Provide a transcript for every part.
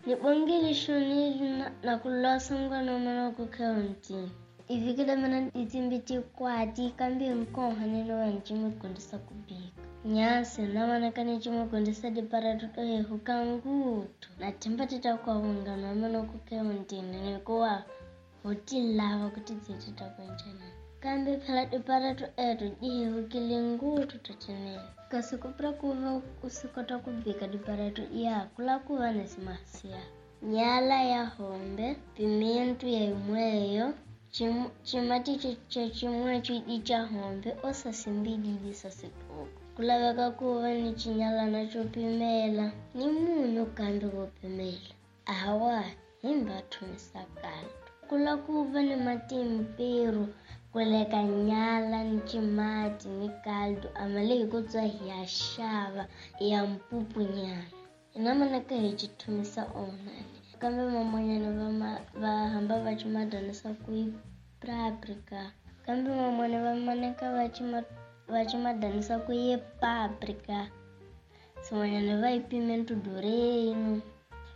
Nibongile shonile na kulosa mngani wa mana ku kheontini. Ivikile mina ditsimbi tikwati kambe nkoha ni lowa ncimo gondisa kubika. Nyasi na mana ka ncimo gondisa diparato to hehuka ngutu. Na themba tita kwa mngani wa mana ku kheontini ni kuwa hotilava kuti dzeti ta kwenjana. Kambe phela diparato eto dihehukile ngutu tatinene. Kasi kupra kuva usikota kubika diparato ya kula kuva nesimasiya. Nyala ya hombe, pimento ya imweyo, chimati cha chimwe chidi cha hombe osasimbididi sasitoko. Kulaveka kuva ni chinyalana chopimela, ni munyu kambe wopimela. Awa, himba thumisa kaldo. Kula kuva ni matimpiro, kuleka nyala ni chimati ni kaldo amale hikutswa hi ya xava ya mpupunyana. Hina manaka hi chithumisa onani. Kambe mamonyana va hamba va chimadanisa ku yi paprika. Kambe mamona va manaka va chimadanisa ku yi paprika. Swin'wanyana va yi pimento doreno.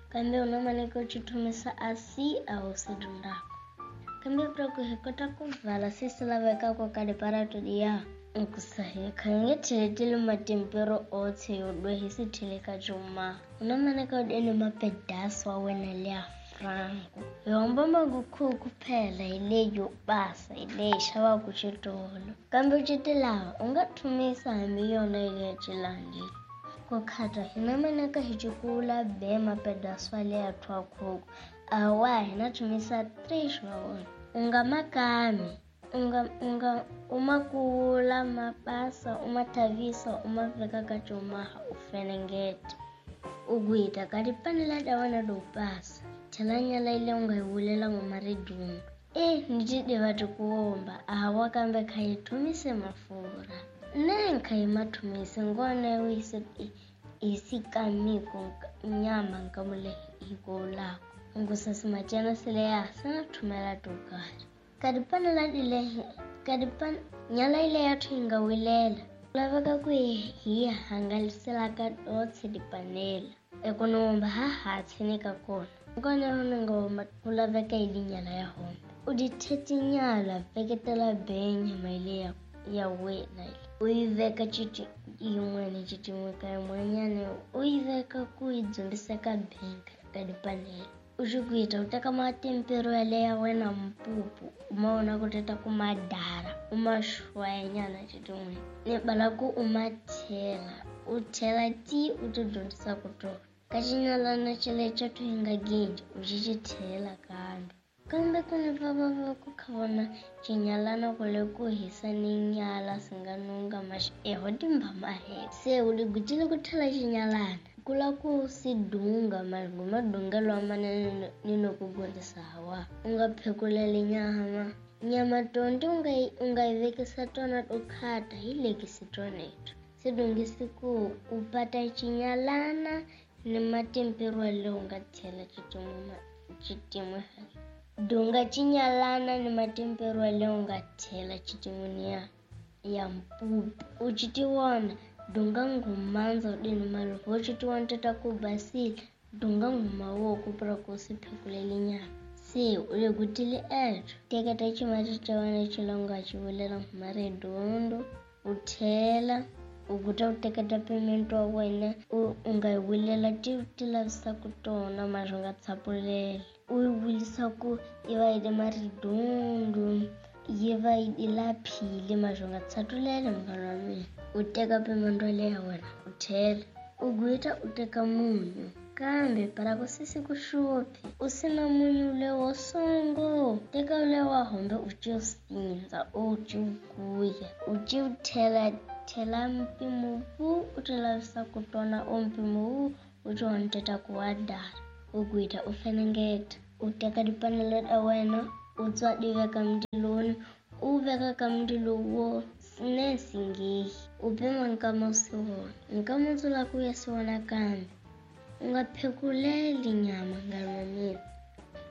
Kambe una manaka u chithumisa asi a wu se dyondzaka. Kambe pra ku hi kota ku vala se swi lavekaka ka diparato liya nkusa hi kha nge theleteli matimpero otshe yo dwe hi si theleka juma. Una manaka u deni mapedasi wa wena liya franco. Hi homba magukhuku phela hi leyi yo basa hi leyi xavaka xitolo. Kambe u lava u nga thumisa hambi yona yi ya cilangi. Ku khata hina manaka hi cikula be mapedasi wa leya thwakhuku. Awa hina thumisa 3 wa wona. U nga makami, unga umakula mabasa umathavisa umaveka ka cumaha u fenengeta. U gwita ka dipanela ta wena do basa. Thela nyala ile u nga yi vulela ngoma redundu. Ni ti tiva tikuomba awa kambe kha yi thumise mafurha. Ne kha yi ma thumise ngone u yi sikamiko nyama nkamule hikolako. Ngusasi matiana sele ya sana thumela to karhi. Ka dipanela dile ka dipan nyala ile ya thinga wilela. Laveka ku hi hangalisela ka dotse dipanela. Ekonomba ha ha tshene ka kona. Ngone hona ngoma kulaveka ilinyala ya hombe. U ditheti nyala veketela benya maile ya wena ile. U yi veka chiti yin'wana chitin'we ka yin'wanyana u yi veka ku yi dzumbisa ka benka ka dipanela. U xi kuita u teka matimpero yale ya wena mpupu u ma vona ku teta ku madara u ma xwayanyana chitin'we. Ni bala ku u ma thela u thela ti u ti dyondzisa ku tona. Ka xinyalana xale xa thuhinga gidi u xi xi thela kambe. Kambe ku ni va va ku kha vona xinyalana ku le ku hisa ni nyala swi nga nunga eho timba mahele. Se u ligutile ku thela xinyalana. Kula ku si dunga madungelo manene ni no ku gondisa hawa. U nga phekuleli nyama. Nyama tonti u nga yi vekisa tona to khata hi lekisi toneto. Se dungisi ku u pata xinyalana ni matimpiro leyi u nga thela xitin'we. Dunga xinyalana ni matimpero leyi u nga thela xitin'wini ya mpupu. U xitiwona dunga ngumandza u dini maloko u xitiwona tata ku basile dunga nguma wo ku pra ku si phekuleli nyama. Se u le gutile eto. Teketa ximati xa wena xilonga xi vulela nguma redondo u thela u guta u teketa pimento wa wena u nga yi vulela ti ti lavisa ku tona mara u nga tsapulela. U yi vulisa ku yi va yi le maridundu yi va yi laphile mara u nga tsatulela munghana wa mina. U teka pimento leya wena u thela. U gwita u teka munyu. Kambe para ku sisi ku xuphi u sina munyu lewo songo. Teka lewa hombe u ci sindza u ci kuya u ci thela thela mpimo wu u ti lavisa ku tona o mpimo wu u ti honteta ku wa dara. U gwita u fenengeta. U teka dipanela ta wena u tswa di veka mundilweni u veka ka mundilo wo ne singehi. U pima nkama u si vona. Nkama u dzula ku ya si vona kambe. U nga phekuleli nyama nkarhi wa mina.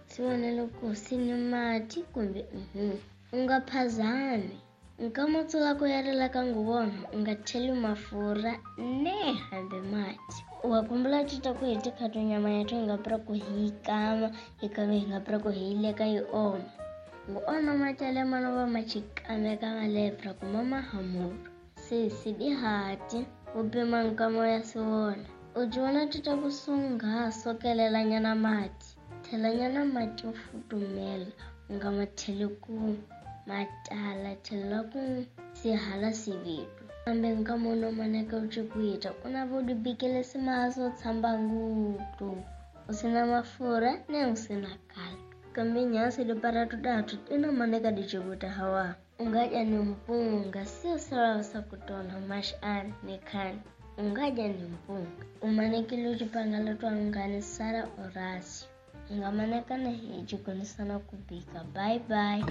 Si vona loko si ni mati kumbe U nga phazami. Nkama u dzula ku ya rila ka nguvona u nga theli mafurha ne hambi mati. Wa kumbula tita ku hi tikhato nyama ya hi nga pra ku hi yi kama hi kama hi nga pra ku hi yi leka yi oma. Ngu ona macale mana va ma chikameka malepra ku mama hamuru. Sesi dihati u pima nkamo ya siwona. U jiona tita ku sunga sokelela nyana mati. Thela nyana mati yo futumela u nga ma theli ku matala thela ku sihala sivitu. Kambe nkamo no maneka u chikuita u na vo dibikele simaso tshamba ngutu. U sina mafura ne u sina kala. Kambe nyasi diparatu datu ina maneka dichikuta hawa. Ungaja ni mpunga sio sawa sa kutona mash an ni khani. Ungaja ni mpunga. Umanekile uchipangala twangani Sara Horacio. Ingamaneka na hi jikonisana kubika. Bye bye.